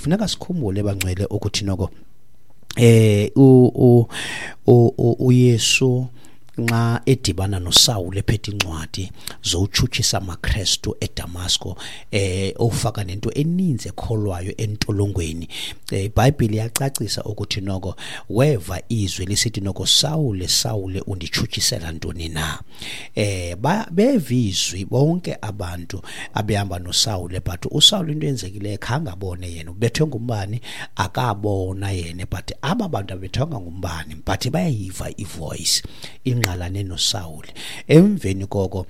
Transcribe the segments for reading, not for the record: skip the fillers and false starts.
Funeka sikhumbule, bangcwele, ukuthi noko uYesu nxa edibana noSawule ephethe incwadi zowutshutshisa amaKrestu eDamasko, ofaka nento eninzi ekholwayo entolongweni, iBhayibhile iyacacisa ukuthi noko weva izwi lisithi noko, "Sawule, Sawule, unditshutshisela ntoni na?" Beva izwi bonke abantu abehamba noSawule, but uSawule into eyenzekileyo khange abone yena, ubethwe ngumbane akabona yena, but aba bantu abethwanga ngumbane, but bayayiva ivoice ingqalane noSawule. Emveni koko,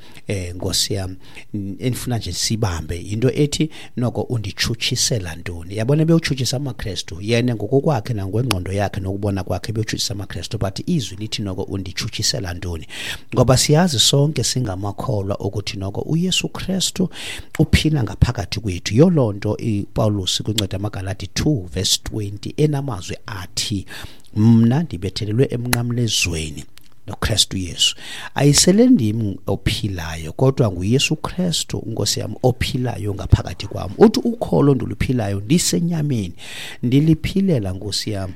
nkosi yam, endifuna nje sibambe into ethi noko "unditshutshisela ntoni?" Yabona, bewutshutshisa amaKrestu yena ngokokwakhe nangokwengqondo yakhe nokubona kwakhe, bewutshutshisa amaKrestu, but izwi lithi noko "unditshutshisela ntoni?" Ngoba siyazi sonke singamakholwa ukuthi noko uYesu Kristu uphila ngaphakathi kwethu. Yiyo loo nto iPawulos kwincwadi yamaGalati 2 verse 20 enamazwi athi, "Mna ndibethelelwe emnqamlezweni noKristu Yesu. Ayisele ndim ophilayo, kodwa nguYesu Kristu unkosi yam ophilayo ngaphakathi kwam." Uthi ukholo ndiluphilayo ndisenyameni ndiliphilela, nkosi yam,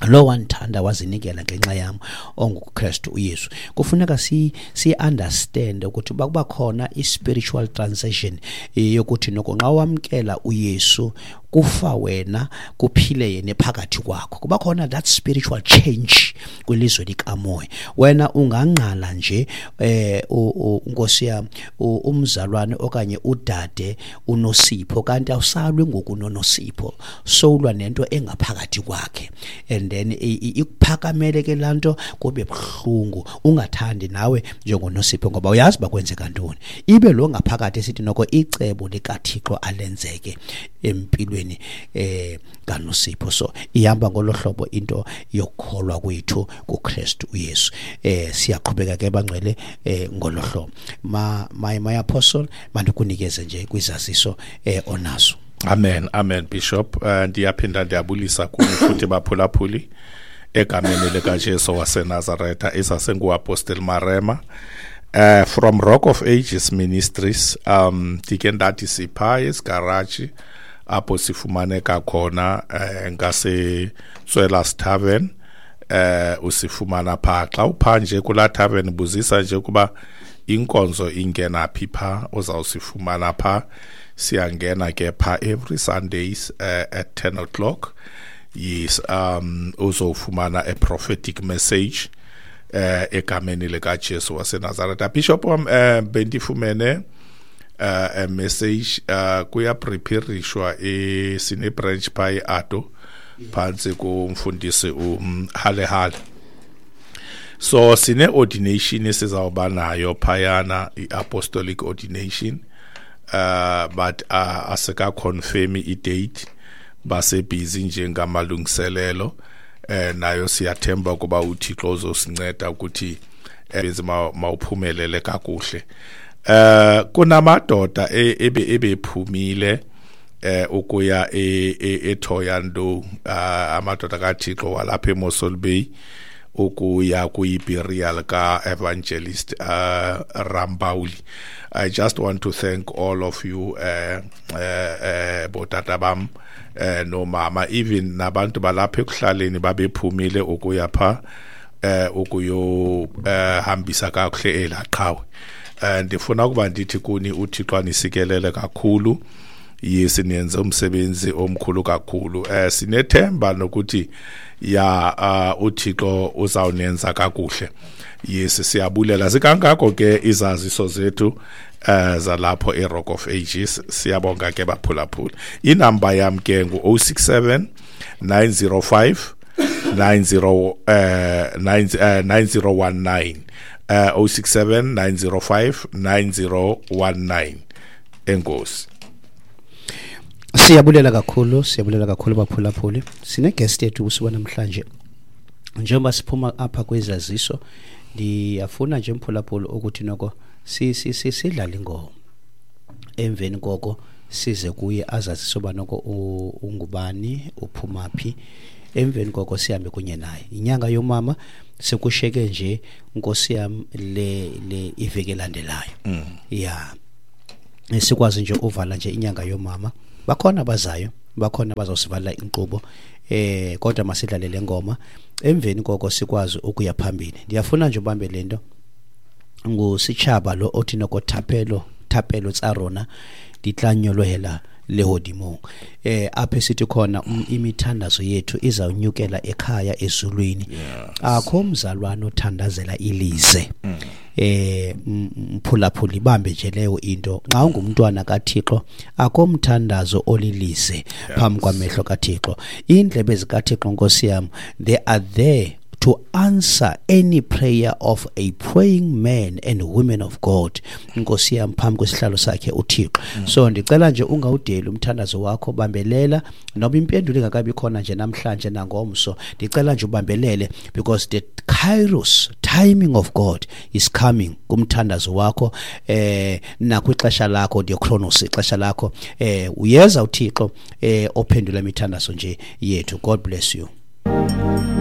lo wandithanda wazinikela ngenxa yam, onguKristu uYesu. Kufuneka si understand ukuthi bakuba khona i-spiritual transition yokuthi noko nxa wamkela uYesu, kufa wena, kuphile yena phakathi kwakho. Kuba khona that spiritual change kwilizwe likamoya. Wena ungangqala nje, nkosi yam, umzalwane okanye udade uNosipho, kanti awusalwi ngoku noNosipho, sowulwa nento engaphakathi kwakhe, and then ikuphakamele ke laa nto, kube buhlungu, ungathandi nawe njengoNosipho, ngoba uyazi uba kwenzeka ntoni. Ibe lo ngaphakathi esithi noko icebo likaThixo alenzeke empilweni kaNosipho. So ihamba ngolo hlobo into yokukholwa kwethu kuKristu uYesu. Siyaqhubeka ke, bangcwele, ngolo hlobo. Ma my apostle, mandikunikeze nje kwizaziso onazo. Amen, amen, Bishop. Ndiyaphinda ndiyabulisa kuni futhi, baphulaphuli, egameni likaJesu waseNazaretha. IsasenguApostle Marema from Rock of Ages Ministries. Ndike ndathi sipha esigaraji apho sifumaneka khona ngase Tswelas Tavern. Usifumana pha xa upha nje kulaa tavern, buzisa nje kuba inkonzo ingena phi pha, uzawusifumana pha. Siyangena ke pha every Sundays at 10 o'clock. Yes, uzofumana a prophetic message egameni likaJesu waseNazaretha. Bishop wam, bendifumene a message, kuyapreparishwa, sine branch pha eAdo phantsi kumfundisi umhale hale. So sine ordination esizawuba nayo phayana, i-apostolic ordination, but asika confirm i-date, basebhizi nje ngamalungiselelo. Nayo siyathemba kuba uThixo uzosinceda ukuthi mawuphumelele kakuhle. Kunamadoda ebephumile ukuya eThoyando, amadoda kaThixo walapha eMossel Bay, ukuya kuyi-burial ka-Evangelist Rambauli. I just want to thank all of you, botata bam nomama, even nabantu balapha ekuhlaleni babephumile ukuya pha ukuyo hambisa kakuhle elaqhawe. Ndifuna ukuba ndithi kuni uThixo anisikelele kakhulu. Yes, niyenze umsebenzi omkhulu kakhulu. Sinethemba nokuthi ya uThixo uzawunenza kakuhle. Yes, siyabulela sikangako ke izaziso zethu zalapho eRock of Ages. Siyabonga ke, baphulaphula. Inamba yam ke ngu-067 905 90 9 9019, 067 905 9019. Enkosi. Siyabulela kakhulu, siyabulela kakhulu, baphulaphuli. Sine-guest yethu kusuka namhlanje. Njengoba siphuma apha kwezaziso, ndiyafuna nje, mphulaphuli, ukuthi noko sidlale ingoma, emveni koko size kuye azazise uba noko ungubani, uphuma phi. Emveni koko sihambe kunye naye. Inyanga yomama sekusheke nje, nkosi yam, le iveki elandelayo ya sikwazi nje uvala nje inyanga yomama. Bakhona abazayo Bakhona bazawusivalela inkqubo, kodwa masidlale le ngoma, emveni koko sikwazi ukuya phambili. Ndiyafuna nje ubambe le nto. Ngusitshaba lo othi noko thapelo thapelo tsa rona di tla nyolohela lehodimong. Apho sithi khona imithandazo yethu izawunyukela ekhaya ezulwini. Akho mzalwane othandazela ilize. Mphulaphula, ibambe nje leyo into. Xa ungumntwana kaThixo, akho mthandazo olilize phambi kwamehlo kaThixo. Iindlebe zikaThixo, Nkosi yam, they are there to answer any prayer of a praying man and women of God, Nkosi yam, phambi kwesihlalo sakhe uThixo. So ndicela nje ungawudeli umthandazo wakho, bambelela noba impendulo ingakabi khona nje namhlanje nangomso. Ndicela nje ubambelele, because the kairos timing of God is coming kumthandazo wakho, nakwixesha lakho, the chronos, ixesha lakho, uyeza uThixo ophendula imithandazo nje yethu. God bless you.